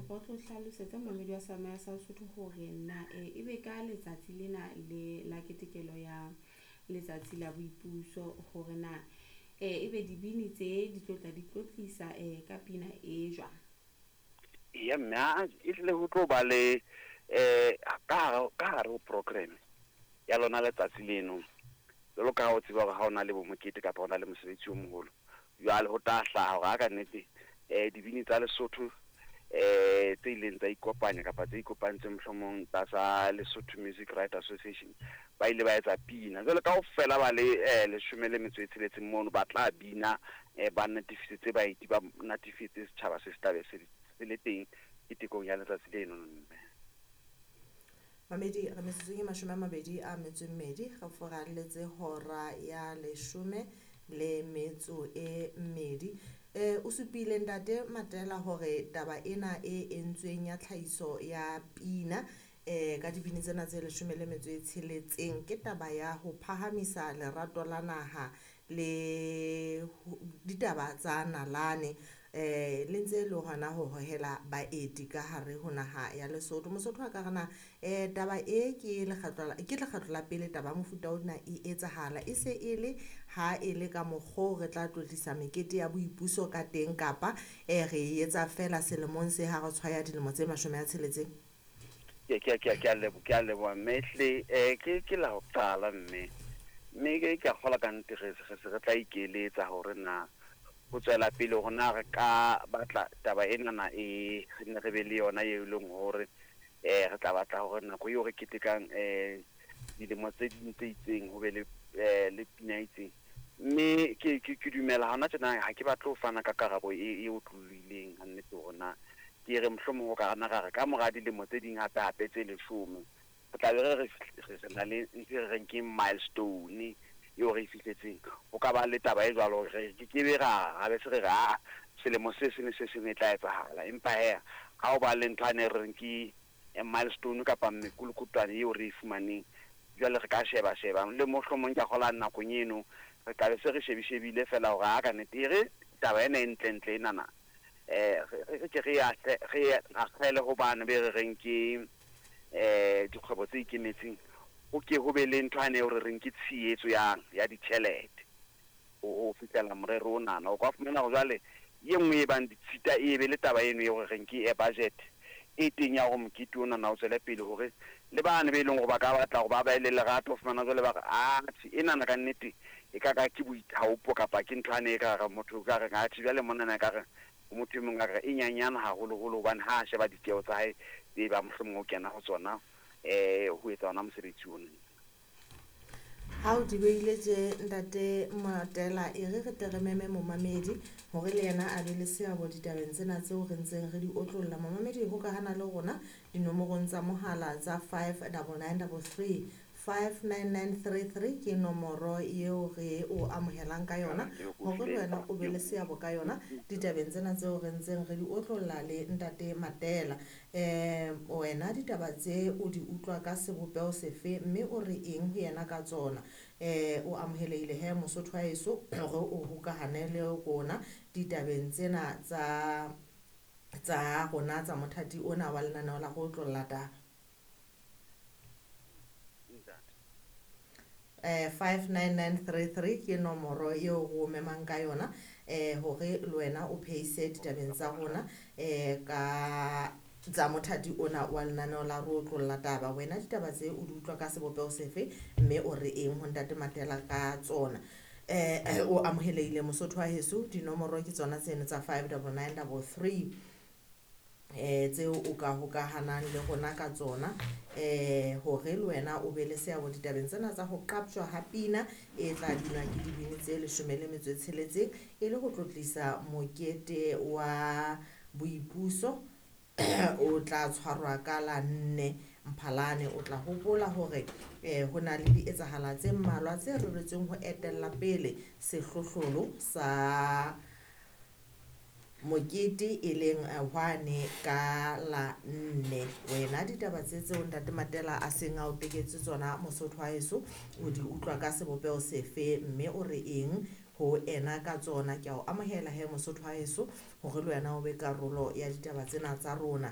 Kopa o tlo hlalosetse momamedi wa Sealemoya sa Sesotho hore na ebe ka letsatsi lena le la ketekelo ya letsatsi la boipuso hore na ebe dibini tse di tlo tla di tlotlisa ka pina e jwang. Eya mme a e tlile ho tlo ba le ka hare ho program ya lona letsatsi leno. Jwalo ka ha o tseba hore ha o na le bo mokete kapa ho na le mosebetsi o moholo, jwale ho tla hlaha hore ha ka nnete dibini tsa Lesotho tse ileng tsa ikopanya kapa tse ikopantseng mohlomong tlasa Lesotho Music Writer Association ba ile ba etsa pina. Jwale kaofela ba le 17 mono ba tla bina, ba natefisetse baeti, ba natefetse setjhaba se se tlabe se le teng ketekong ya letsatsi leno mme. Mamedi re metsotsong e 22 re furalletse hora ya 12. O supile ntate Matela hore taba ena e entsweng ya tlhahiso ya pina ka dibini tsena tse 16 ke taba ya ho phahamisa lerato la naha le ditaba tsa nalane le ntse le hona ho hohela baeti ka hare ho naha ya Lesotho. Mosotho a ka re na taba e ke lekgetlo la pele taba ya mofuta ona e etsahala, e se e le ha e le ka mokgo re tla tlotlisa mekete ya boipuso ka teng kapa re e etsa fela selemong se ha re tshwaya dilemo tse 60? Ke a leboha mme ehlile ke la ho qala mme mme ke a kgolwa ka nnete re se re tla ikeletsa hore na ho tswela pele hore na re ka batla taba enana e re nne re be le yona eo e leng hore re tla batla hore nako eo re ketekang dilemo tse ding tse itseng ho be le pina e itseng. Mme ke dumela hona tjena ha ke batle ho fana ka karabo e otlolohileng ha nnete hore na ke re mohlomong ho ka nna ra re ka mora dilemo tse ding hape hape tse 10 re tla be re re na le ntho e re reng ke milestone eo re e fihletseng. Ho ka ba le taba e jwalo re ke ke be ra be se re re a selemo se seng le se seng e tla etsahala, empa hee ha o ba le ntho ane re reng ke milestone kapa mekolokotwane eo re e fumaneng, jwale re ka sheba sheba le mohlomong ke a kgolwa nakong eno re tla be se re shebishebile fela hore ha ka nnete e re taba ena e ntlentle enana re ke re akgele ho bane be re reng ke dikgwebo tse ikemetseng, ho ke ho be le ntho ane eo re reng ke tshehetso ya ditjhelete ho fihlela morero onana. O ka fumana hore jwale e nngwe e bang ditshita e be le taba eno eo re reng ke budget e teng ya hore mokete onana o tswele pele, hore le bane be leng hore ba ka batla hore ba be le lerato ho fumana jwale ba re atjhe enana ka nnete e ka ka ke boithaopo kapa ke ntho ane e ka re motho o ka reng atjhe jwale monana e ka re ho motho e mong a re e nyanyana haholoholo hobane ha a sheba ditjeho tsa hae tse bang mohlomong o kena ho tsona ho etsa ona mosebetsi ona. Ha o di beile tje ntate Matela, e re re tle re meme momamedi hore le yena a be le seabo ditabeng tsena tseo re ntseng re di otlolla. Momamedi hokahana le rona dinomorong tsa mohala tsa 59933 59933 ke nomoro eo re o amohelang ka yona hore le wena o be le seabo ka yona ditabeng tsena tseo re ntseng re di otlolla le ntate Matela. Wena ditaba tse o di utlwa ka sebopeho sefe mme o re eng ho yena ka tsona? O amohelehile he Mosotho wa heso hore o hokahane le rona ditabeng tsena tsa rona tsa mothati ona wa lenaneo la go otlolla taba. 59933 ke nomoro eo re o memang ka yona hore le wena o phehise ditabeng tsa rona ka tsa mothati ona wa lenaneo la re otlolla taba. Wena ditaba tse o di utlwa ka sebopeho sefe mme o re eng ho ntate Matela ka tsona? O amohelehile Mosotho wa heso, dinomoro ke tsona tseno tsa 59933 tseo o ka hokahanang le rona ka tsona hore le wena o be le seabo ditabeng tsena tsa ho qaptjwa ha pina e tla binwa ke dibini tse 16 e le ho tlotlisa mokete wa boipuso o tla tshwarwa ka la 4 Mphalane. O tla hopola hore ho na le dietsahala tse mmalwa tse reretsweng ho etella pele sehlohlolo sa mokete e leng hwane ka la 4. Wena ditaba tse tseo ntate Matela a seng a o teketse tsona Mosotho wa heso o di utlwa ka sebopeho sefe mme o re eng ho ena ka tsona? Ke a o amohela he Mosotho wa heso hore le wena o be karolo ya ditaba tsena tsa rona.